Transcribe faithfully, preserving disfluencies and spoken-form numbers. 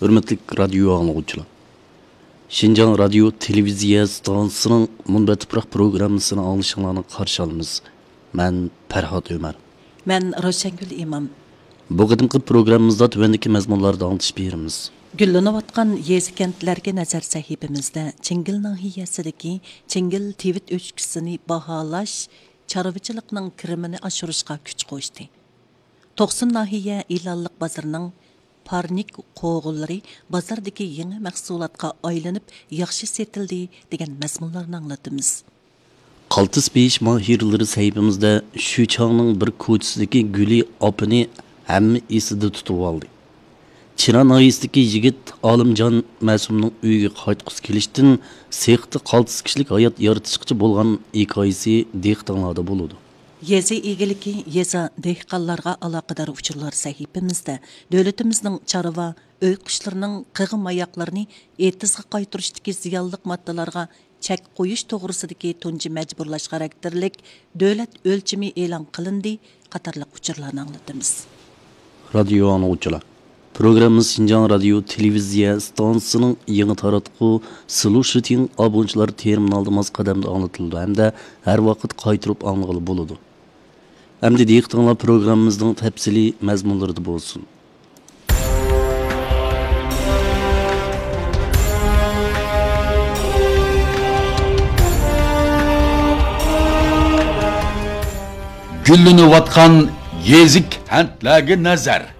ھۆرمەتلىك رادىيو ئاڭلىغۇچىلار! شىنجاڭ رادىيو تېلېۋىزىيە ئىستانسىسىنىڭ مۇنبەت تۇپراق پروگراممىسىنى ئاڭلىشىڭلارنى قارشى ئالىمىز. مەن پەرھات ئۆمەر. مەن روشەنگۈل ئىمام. بۇ قېتىمقى پروگراممىمىزدا تۆۋەندىكى مەزمۇنلاردا ئاڭلىتىش بېرىمىز. گۈللىنىۋاتقان يېزا-كەنتلەرگە نەزەر سەھىپىمىزدە چىڭگىل ناھىيەسىدىكى چىڭگىل تىۋىت ئۆچكىسىنى باھالاش چارۋىچىلىقنىڭ كىرىمىنى ئاشۇرۇشقا كۈچ قوشتى. توقسۇن ناھىيە ئېلانلىق بازىرىنىڭ پارنىك قوغۇنلىرى بازاردىكى يېڭى مەھسۇلاتقا ئايلىنىپ، ياخشى سېتىلدى، دېگەن مەزمۇنلارنى ئاڭلىتىمىز. قالتىس پېيىش ماھىرلىرى سەھىپىمىزدە شۈچاڭنىڭ بىر كوچىسىدىكى گۈلى ئاپىنى ھەممە ئېسىدە تۇتۇۋالدى. چىنا ناھىيەسىدىكى يىگىت ئالىمجان مەسۇمنىڭ ئۆيىگە قايتقۇسى كېلىشتىن سېختا قالتىس كىشىلىك ھايات يارىتىشقىچە بولغان ھېكايىسى دىققىتىڭلاردا بولىدۇ. يېزا ئىگىلىكى، يېزا، دېھقانلارغا ئالاقىدار ئۇچۇرلار سەھىپىمىزدە دۆلىتىمىزنىڭ چارۋا، ئۆي قۇشلىرىنىڭ قىغ ماياقلىرىنى ئېتىزغا قايتۇرۇشتىكى زىيانلىق ماددىلارغا چەك قويۇش توغرىسىدىكى تۇنجى مەجبۇرلاش خاراكتېرلىك دۆلەت ئۆلچىمى ئېلان قىلىندى قاتارلىق ئۇچۇرلارنى ئاڭلىتىمىز. رادىيو ئاڭلىغۇچىلار! پروگراممىمىز شىنجاڭ رادىيو تېلېۋىزىيە ئىستانسىسىنىڭ يېڭى تاراتقۇ سلۇشىتىڭ ئابۇنىچىلار تېرمىنالىدا ماس قەدەمدە ئاڭلىتىلىدۇ ھەمدە ھەر ۋاقىت قايتۇرۇپ ئاڭلىغىلى بولىدۇ. ئەمدى دىققىتىڭلار پروگراممىمىزنىڭ تەپسىلىي مەزمۇنلىرىدا بولسۇن. گۈللىنىۋاتقان يېزا كەنتلەرگە نەزەر.